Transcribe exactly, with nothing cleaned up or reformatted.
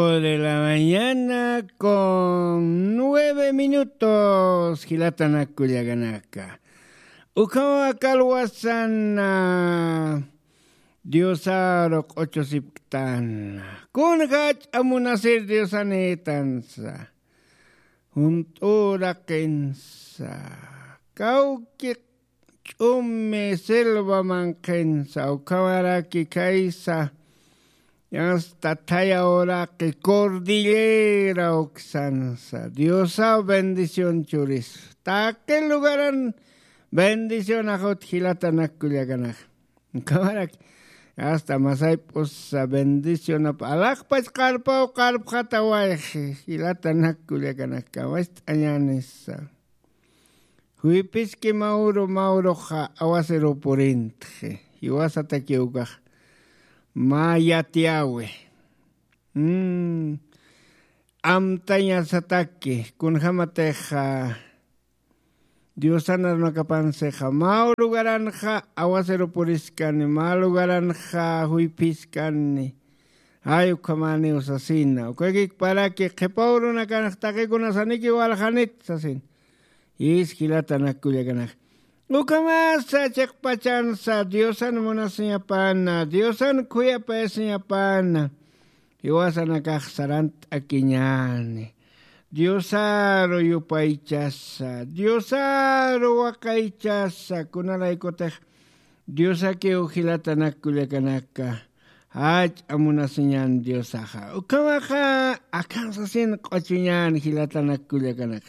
De la mañana con nueve minutos, jilatanak kullakanaka. Ukhama kalwasan Diosaru q'uchusipktan. Kun jach'a munasir Diosanïtansa. Junt'uraqinsa. Kawki ch'umi selva manqhinsa, ukhamaraki khaysa, hasta thaya uraqi cordillera uksansa, Diosaw bendición churis. Taqi lugaran bendición ajut jilatanak kullakanak. Ukhamaraki, hasta masayp'usa bendicionap alaqpach qarpaw qarpxatawayxi, jilatanak kullakanak, kamacht'añänisa. Juyphiski mawru mawruxa awasiru purintxi, jiwasataki ukax mä yatiyawi. Mm, amtañasataki, kunjämatixa Diosan arunakapansixa mä lugaranxa awasiru puriskani, mä lugaranxa juyphiskani, ay ukhamäniw sasina, ukakikparaki qhipaw runakanx taqikunasaniki waljanit sasin. Jis jilatanak kullakanak. Ukhamasa chiqpachansa Diosan munasiñapana, Diosan khuyapayasiñapana, jiwasanakax sarant'akiñäni. Diosaru yupaychasa, Diosaru waqaychasa, kunalaykutix Diosakiw jilatanak kullakanaka, jach'a munasiñän Diosaxa. Ukhamaxa akan sasin q'uchuñän jilatanak kullakanak.